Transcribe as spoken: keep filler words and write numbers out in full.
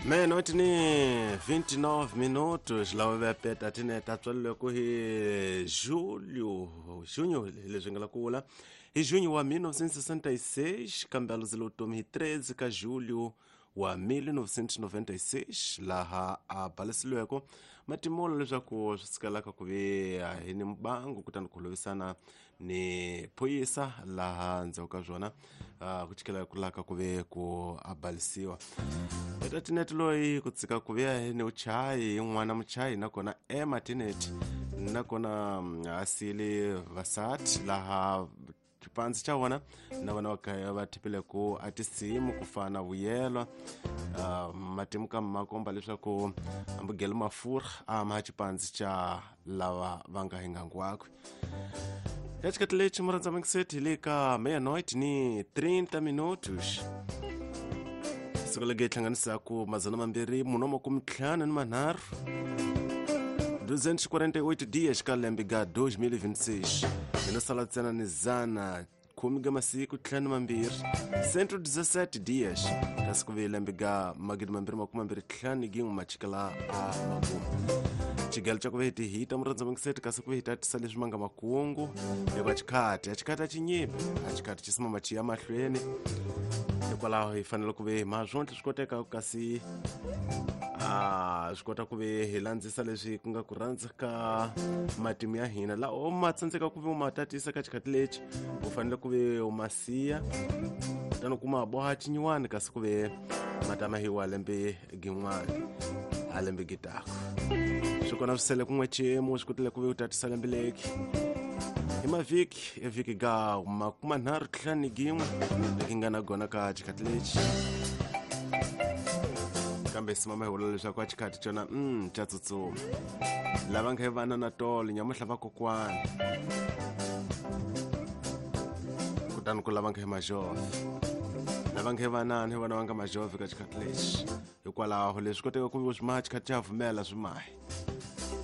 Meia-noite ni vinte e nove minutos, lá o peta tine tatswalile ku hi julho, junho leswi nga la kula hi junho wa mil novecentos e sessenta e seis, kambe a luzile vutomi hi treze ka julho wa mil novecentos e noventa e seis, laha a balesiliweko matimolo leswaku swi sikelaka ku ve hi ni mbangu kutani ku holovisana ni phorisa laha ndzhaku ka swona uh, ku chikela ku laka ku ve ku a balisiwa. Eta Tinet loyi ku tsika ku ve ni uchayi n'wana muchayi nakona Emma Tinet nakona a sile vasati laha xipandzi xa vona na vona va va thipile ku a tinsimu ku fana vuyelwa uh, matimu ka makomba leswaku ambugelo mafurha a ma xipandzi xa lava va nga hingangu wakwe. Ya xikati lexi murhandza mingiseti hi le ka meia-noite ni trinta minutos. Siku lege hlanganisaku madzana mambirhi mune makume ntlhanu ni manharhu duzentos e quarenta e oito dias ka lembe ga dois mil e vinte e seis. Hino sala ntsena ni zana khume ga masiku ntlhanu mambirhi cento e dezessete dias kasi ku ve lembe ga magidi mambirhi makume mambirhi ntlhanu gin'we machikela a makumu. Xigelo xa ku ve hi ti hita murhandza mingiseti kasi ku ve hi tatisa leswi ma nga makungu hikuva xikhati a xikhati a xi nyimi a xikhati xi simama xi ya mahlweni hikwalaho hi fanele ku ve hi ma swontlhe swi koteka kasi a swi kota ku ve hi landzisa leswi ku nga ku rhandza ka matimu ya hina laha u ma tsandzeka ku ve u ma tatisa ka xikhati lexi u fanele ku ve u ma siya kutani kuma boha xinyiwani kasi ku ve ma tama hi wa lembe gin'wana a lembe gitako swi kona swi sele kun'we xiyimo swi kotile ku ve u tatisa lembe leki hi mavhiki evhiki ga makuma nharhu ntlhanu gin'we leki nga na gona ka xikhati lexi kambe simama hi vula leswaku a xikhati xona mm xa tsutsuma lava nga hi vana na tolo nyamuhla va kokwana kutani ku lava nga hi majove lava nga hi vanani hi vona va nga majove ka xikhati lexi hikwalaho leswi koteka ku ve swi maha xikhati xa pfumela swi mahi.